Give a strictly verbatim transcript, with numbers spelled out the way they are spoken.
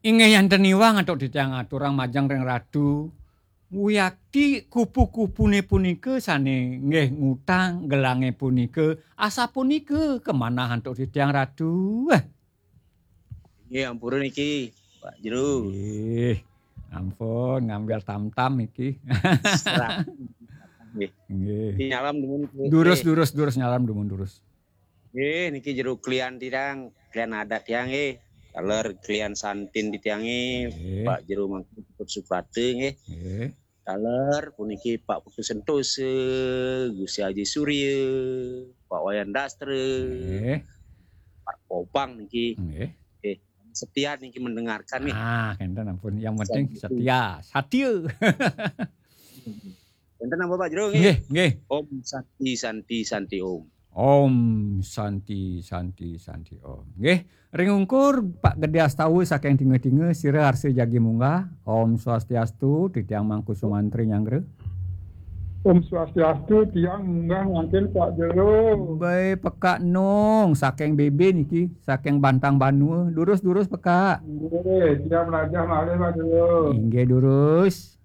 Inggih yanten iwang antuk titiang aturang majeng ring Ratu. Wiakti kupu-kupune punika sane nggih ngutang gelange punika, asapunika kamanah antuk titiang Ratu. Eh. Nggih, ampura niki, Pak Jero. Nggih. Ampun, ngambil tam-tam niki. Serah. Nggih. Nggih. Niki nyalam dumun, nggih. Durus, durus, durus, nyalam dumun, durus. Nggih, niki Jero klian tiang, klian adat tiang nggih. Taler klian santin titiang nggih, nggih. Pak Jero Mangku Putut Suprata nggih. Nggih. Taler puniki Pak Putu Sentosa, Gusti Aji Surya, Pak Wayan Dastra, nggih. Pak Popang niki. Nggih. Nggih. Setia niki mendengarkan nggih. Ah, enten ampun. Yang penting setia. Setia. Satia. Enten napa, Pak Jero, nggih? Nggih, nggih. Om Santi, Santi, Santi Om. Om Santi, Santi, Santi Om. Nggih, ring ungkur Pak Gede Astawa saking Tinga-tinga, sira arsa jagi munggah. Om Swastiastu, titiang Mangku Sumantri nyanggra. Om Swastiastu, tiang munggah mangkin Pak Jero. Bae pekak nong, saking B B niki, saking Bantang Banua. Durus-durus pekak. Nggih, tiang mlajah malih Pak Jero. Inggih durus.